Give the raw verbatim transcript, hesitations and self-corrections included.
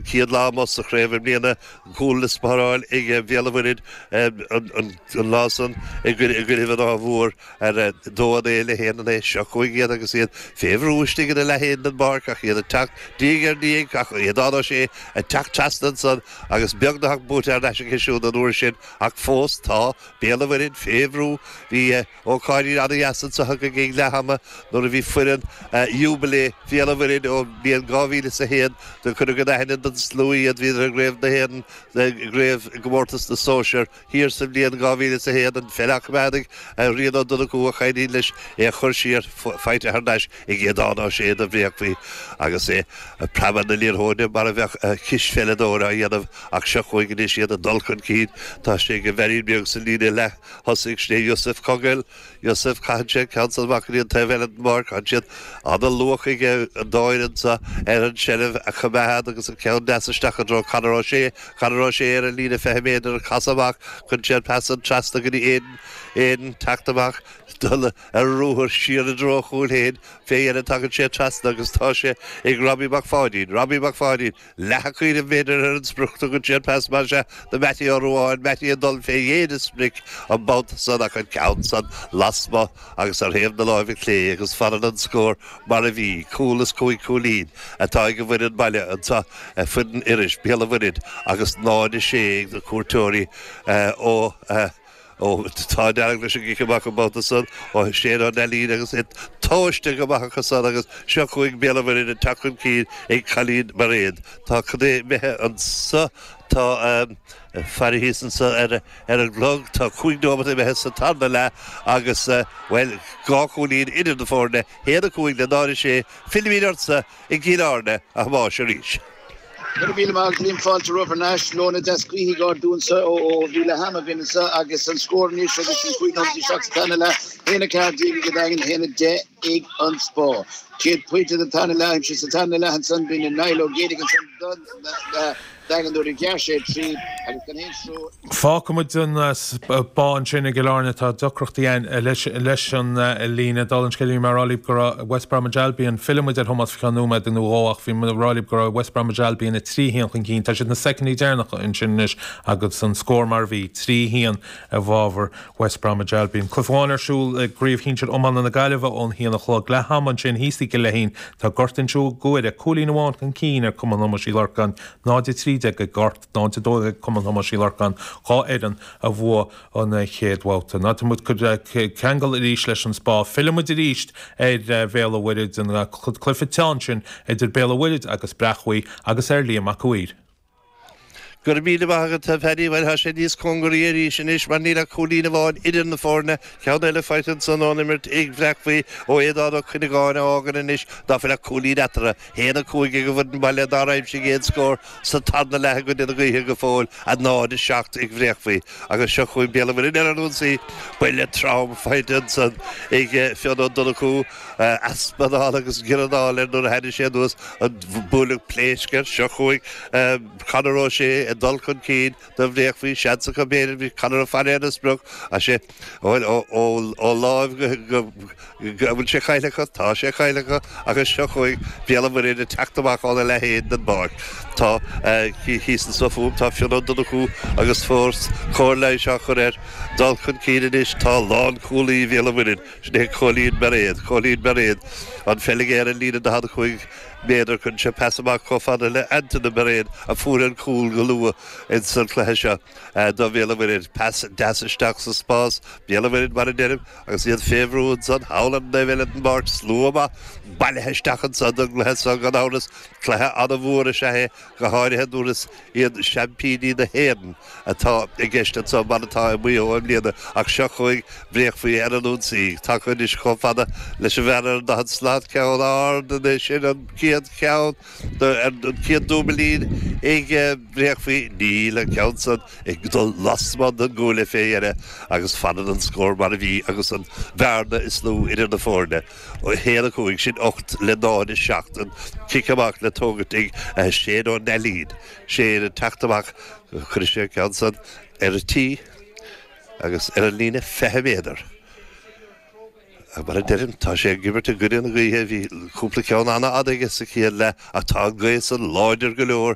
chéad lá amuigh sa chraobh i mbliana cúl le spáráil ag Béal an Mhuirthead an lá san i gcoinnibh an Átha Mhóir ar dó a naoi le haon a naoi seo chugainn iad agus iad fé bhrú istigh ina leath féin den bpáirc ach iad ag teacht diaidh ar ndiaidh ach Aodán Ó Sé ag teacht trasna ansan agus beagnach buaite thar n-ais aige siúd an uair sin ach fós tá Béal an Mhuirthead fé bhrú. Bhí ócáidí an-dheas anseo againn ag leath ama nuair a bhí foireann Jubilee Bhéal an Mhuirthead ón mbliain dhá mhíle is a haon do cuireadh in aithne don slua iad bhíodar i gCraobh na hÉireann i gCraobh i gComórtas na Sóisear thiar sa bhliain dhá mhíle is a haon an pheil á coimeád ag Rian Ó Donnchú a chailín leis é a chur siar faighte thar n-ais ag Aodán Ó Sé do Bhréachmhaí agus é ag preabadh na liathróide mar a bheadh cispheileadóir á dhéanamh ach seo chugainn anois iad ag dul chun cinn. Tá sé ag an bhfeairín beag sa líne leath thosaigh, sin é Yusuf Coghill. Yusuf, caitheann sé an ceann san amach go dtí an taobh eile den bpáirc. Tá siad ana-luath ag an dá fhoireann seo ar an tseilbh a choimeád agus an ceann deas isteach i dtreo Conor O'Shea. Conor O'Shea ar an líne fiche méadar ag casadh amach. Cuireann sé an pas san trasna go dtí Aidan. Aidan teacht amach, dul ar ruathar siar i dtreo a chúil féin. Fé dheireadh tagann sé trasna agus tá sé ag Robbie Mac Pháidín. Robbie Mac Pháidín, leath a chaoiribh b'fhéidir ar an sprioc. Tugann sé an pas mar sea do Mattie Ó Ruadháin. Mattie ag dul fé dhéin an sprioc an babhta san ach an ceann san lasmuigh agus ar thaobh na láimhe clé agus fanann an scór mar a bhí. Cúl is cúig chúilín atá ag an bhfoireann baile anseo, foireann Iorrais, Béal an Mhuirthead agus náid a sé ag na cuairteoirí ó Ó, tá an dearg leis an gcic amach an babhta san ó Shane Ó Neilín agus é tomhaiste go maith acu san agus seo chugainn Béal an Mhuirthead ag teacht chun cinn ag Colleen Mairéad. Tá cad é imithe anso, tá faire thíos anso ar ar an gclog, tá cúig nóimeat imithe sa tarna leath agus, bhuel, dhá chúilín idir na foirne, haon a cúig le náid a sé. Fillimid ortsa i gCill Airne, a Thomáis, arís. Go raibh míle maith agat Liam fáilte romhaibh thar n-ais. Leoithne deas gaoithe ag ardú anseo ó bhí leath ama againn anseo agus an scór anois agus sin cúig nóiméad isteach sa tarna leath, haon a ceathair déag ag an Daingean, haon a deich ag an Spá. Céad pointe den tarna leath aimsithe sa tarna leath ansan b'in ag Niall Ó Géidigh ansan don Daingean nuair a ghearr sé trí agus gan aon stró. Fágfaidh muid an Spá ansin i gCill Airne. Tá deacrachtaí ann leis an líne. Dála an scéil bhí mé ag rá libh go raibh West Bromwich Albion, fillfidh muid ar Thomás faoi cheann nóiméad nó dhó ach bhí mé ag rá libh go raibh West Bromwich Albion a trí haon chun cinn. Tá siad na soicindí deireanacha ansin anois agus an scór mar a bhí, trí haon i bhfabhar West Bromwich Albion. Cluiche amháin ar siúl i gCraobh Shinsir Iomána na Gaillimhe ón haon a chlog. Leath ama ansin thíos i gCill Fheichín tá Gort Inse Guaire cúilín amháin chun cinn ar Cumann Thomáis Uí Lorcáin, náid a trí déag ag Gort, náid a dó ag Cumann Thomáis Uí Lorcáin, dhá fhoireann a bhuaigh an chéad bhabhta. Ná tá muid ceangal arís leis an Spá. Fillfidh muid arís ar Bhéal an Mhuirthead, an cluiche teann sin idir Béal an Mhuirthead agus Breac Bhuí agus ar Liam Mac Uidhir. Go raibh míle maith agat, a Phaddy. Bhuel, tá sé níos cóngaraí arís anois mar níl ach cúilín amháin idir na foirne. Ceann eile faighte ansan ón imirt ag Bhreac Bhuí ó Aodán Ó Cuinneagáin a fhágann anois ná fuil ach cúilín eatarthu. Haon a cúig ag an bhfoireann baile nár aimsigh aon scór sa tarna leath i gcoinne na gaoithe go fóill, a náid a seacht ag Bhréach Bhuí. Agus seo chugainn Béal an Mhuirthead ar an ionsaí. Buille trom faighte ansan ag Fionn Ó Donnchú. Easpa anála agus giorranáil air nuair a tháinig sé anuas. An buaileadh pléasc air. Seo chugainn Conor O'Shea ag dul chun cinn do Bhréach Bhuí. Seans acu b'fhéidir. Bhí Conor ag faire ar an sprioc. Ach sé ó láimh go an bhfuil sé caillte acu? Tá sé caillte acu agus seo chugainn Béal an Mhuirthead ag teacht amach óna leath féin den bpáirc. Tá thíos anso fúm, tá Fionn Ó Donnchú agus fós cóir leighis á chur air. Dul chun cinn anois tá lánchúlaí Bhéal an Mhuirthead, sin é Cóilín Bairéad. Cóilín Bairéad, an pheil aige ar an líne daichead a cúig méadar. Cuireann sé pas amach chomh fada le Antaine Bairéad a fuair an cúl go luath ins an chluiche seo do Bhéal an Mhuirthead. Pas deas isteach sa spás. Béal an Mhuirthead, mar a deirim, agus iad fé bhrú ansan thall ar an dtaobh eile den bpáirc. Slua maith bailithe isteach ansan don gcluiche seo gan amhras. Cluiche an-mhór is ea é, go háirithe nuair is iad seaimpíní na hÉireann atá i gceist anso, mar atá i Maigh Eo i mbliana. Ach seo chugainn Bréach Bhuí ar an ionsaí. Tagtha anois chomh fada leis an bhfear ar an daichead slat. Ceann ard anois, sin an chéad cheann, an chéad dúbailín ag Bréach Bhuí. Níl an ceann san ag dul lasmuigh den gcuaille fé dheireadh agus fanann an scór mar a bhí agus an bhearna is lú idir na foirne. a haon a cúig, sin ocht le náid a seacht, an cic amach le tógaint ag Shane Ó Neilín. Shane ag teacht amach, cuirfidh sé an ceann san ar an tí agus ar an líne fiche méadar. Mar a deirim, tá sé ag imirt i gcoinne na gaoithe, bhí cúpla ceann an-fhada aige sa chéad leath ach tá an ghaoth san láidir go leor.